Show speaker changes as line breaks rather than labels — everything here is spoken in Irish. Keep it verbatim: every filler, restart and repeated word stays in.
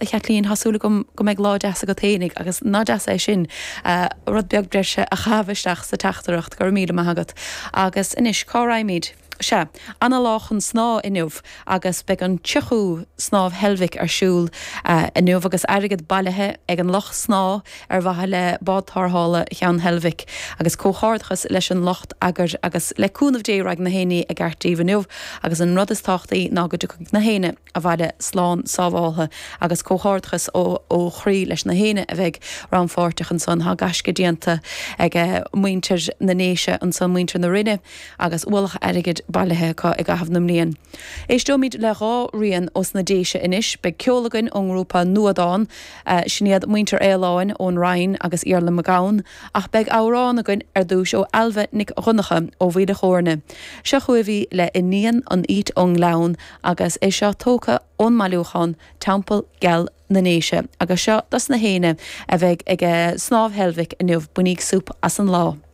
A Chaitlín, tá súil agam go mbeidh lá deas agat fhéinig agus nach deas é sin rud beag breise a chaitheamh isteach sa teachtaireacht, go raibh míle maith agat. Agus anois, cá raghaimid? Sea, ana lá chun snámh inniu agus beidh an tríochú Snámh Heilbhic ar siúl inniu agus airgead bailithe ag an lucht snámha ar mhaithe le bád tarrthála Cheann Heilbhic agus comhghairdeachas leis an lucht eagair agus le cúnamh Dé raghaidh na héinní i gceart daoibh inniu agus an rud is tábhachtaí ná go dtiocfaidh na héinne abhaile slán sábháltha agus comhghairdeachas ó ó chroí leis na héinne a bheidh rannpháirteach ansan. Tá gaisce déanta ag muintir na nDéise ansan, muintir na Rinne agus ualach airgid bailithe acu i gcaitheamh na mblian. Éisteoimid le dhá rian ós na Déise anois. Beidh ceol againn ón ngrúpa Nuadán, sin iad muintir Fhaoláin ón Rinn agus Iarla Mac Gabhann, ach beidh amhrán againn ar dtúis ó Ailbhe Nic Dhonncha ó Mhaoil a' Chóirne. Seo chugaibh í le Iníon an Fhaoit ón nGleann agus é seo tógtha ón mbailiúchán Teampall Geal na nDéise agus seo dos na héinne a bheidh ag Snámh Heilbhic inniu. Bainíg súp as an lá.